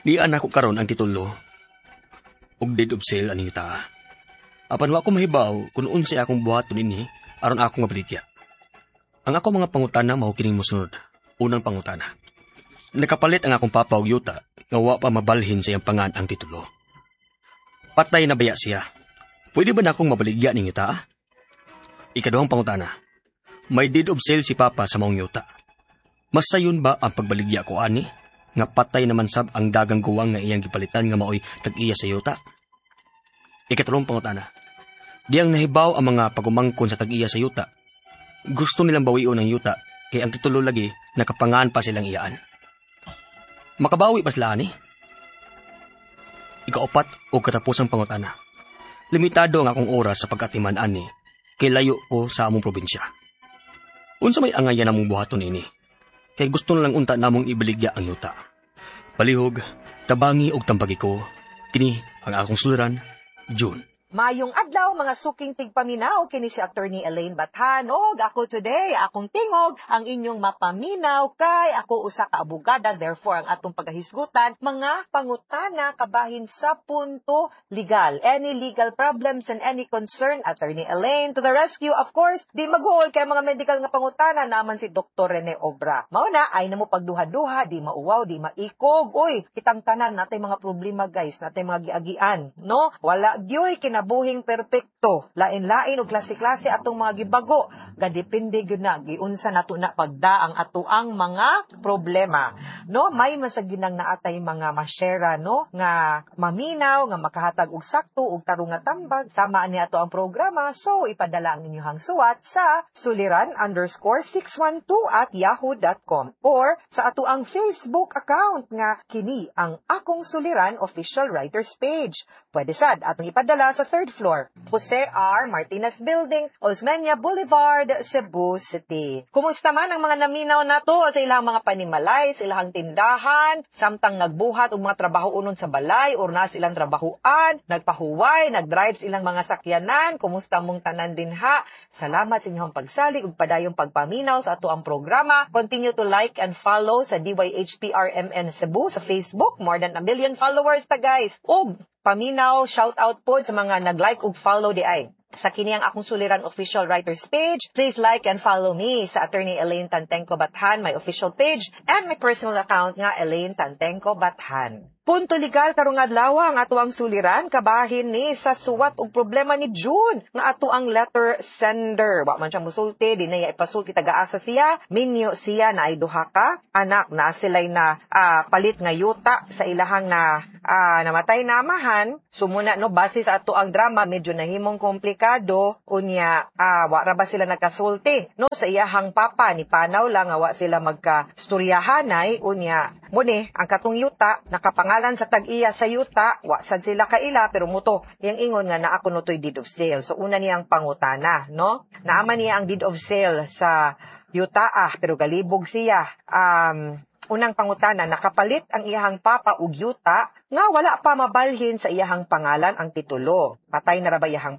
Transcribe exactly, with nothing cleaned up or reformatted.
Niya nako karon ang titulo ug deed of sale aning yuta. Apan wa ko mahibaw kung unsay akong buhaton ini aron akong mabaligya. Ang ako mga pangutana mao kining mosunod. Unang pangutana. Nakapalit ang akong papa og yuta nga wa pa mabalhin sa iyang pangan ang titulo. Patay na baya siya? Pwede ba nakong mabaligya ning yuta? Ikaduhang pangutana. May deed of sale si papa sa maong yuta. Mas sayon ba ang pagbaligya ko ani? Nga patay naman sab ang dagang guwang nga iyang gipalitan nga maoy tag-iya sa yuta. Ikatulong pangutana. Diyang nahibaw ang mga pagumangkon sa tag-iya sa yuta. Gusto nilang bawion ang yuta kay ang titulo lagi nakapangan pa silang iyaan. Makabawi pa sila ani? Ikaupat o katapusang pangutana. Limitado ang akong oras sa pag-atiman ani kay layo ko sa among probinsya. Unsa may angayan namong buhaton ini? Kay gusto na lang unta namong ibaligya ang yuta. Palihog, tabangi og tambagi ko. Kini ang akong suliran, June. Mayong adlaw, mga suking tigpaminaw, kini si Attorney Elaine Bathan. Og ako today, akong tingog ang inyong mapaminaw kay ako usa ka abogada. Therefore, ang atong pagahisgutan mga pangutana kabahin sa punto legal. Any legal problems and any concern, Attorney Elaine to the rescue. Of course, di maguol kay mga medical nga pangutana naman si Doctor Rene Obra. Mao na ay na mo pagduha-duha, di mauwaw, di maikog. Uy, kitang tanan natay mga problema, guys, natay mga giagian, no? Wala gyoy kinabuhing perpekto. Lain-lain og klase-klase atong mga gibago. Gadepende gyud na giunsa nato na pagda ang atoang mga problema. No, may man sa ginang naatay mga ma-share, no, nga maminaw, nga makahatag og sakto og tarong nga tambag sama ani ato ang programa. So ipadala ang inyong suwat sa suliran underscore six one two at yahoo dot com or sa ato ang Facebook account nga kini ang Akong Suliran Official Writers Page. Pwede sad atong ipadala sa third floor, Jose R. Martinez Building, Osmeña Boulevard, Cebu City. Kumusta man ang mga naminaw nato sa ilang mga panimalay, sa ilang tindahan, samtang nagbuhat og mga trabaho unon sa balay or na silang trabahoan, nagpahuway, nagdrive sa ilang mga sakyanan? Kumusta mong tanan dinha? Salamat sa inyong pagsalig ug padayong pagpaminaw sa ato ang programa. Continue to like and follow sa D Y H P R M N Cebu sa Facebook. More than a million followers ta, guys. Ug paminaw, shout out po sa mga nag-like ug follow di ay sa kini ang Akong Suliran Official Writers Page. Please like and follow me sa Attorney Elaine Tantenko Bathan, my official page, and my personal account nga Elaine Tantenko Bathan. Punto legal karong adlaw ang ato ang suliran kabahin ni sa suwat og problema ni June nga ato ang letter sender. Wa man siya musulti, di na iya ipasulti taga-asa siya. Minyo siya na ay duha ka anak na sila'y na ah, palit nga yuta sa ilahang na ah, namatay na amahan. Sumuna, no, base sa ato ang drama, medyo nahimong komplikado unya ah, wa ra ba sila nagkasulti, no, sa iyahang papa. Ni panaw lang nga wa sila magka-storyahanay. Unya muni ang katong yuta nakapangalan sa tag-iya sa yuta, wa sad sila kaila, pero muto yang ingon nga naa kuno to'y deed of sale. So una niyang pangutana, no, naaman niya ang deed of sale sa yuta ah, pero galibog siya. um Unang pangutana, nakapalit ang iyahang papa og yuta nga wala pa mabalhin sa iyahang pangalan ang titulo. Patay na ra ba iyahang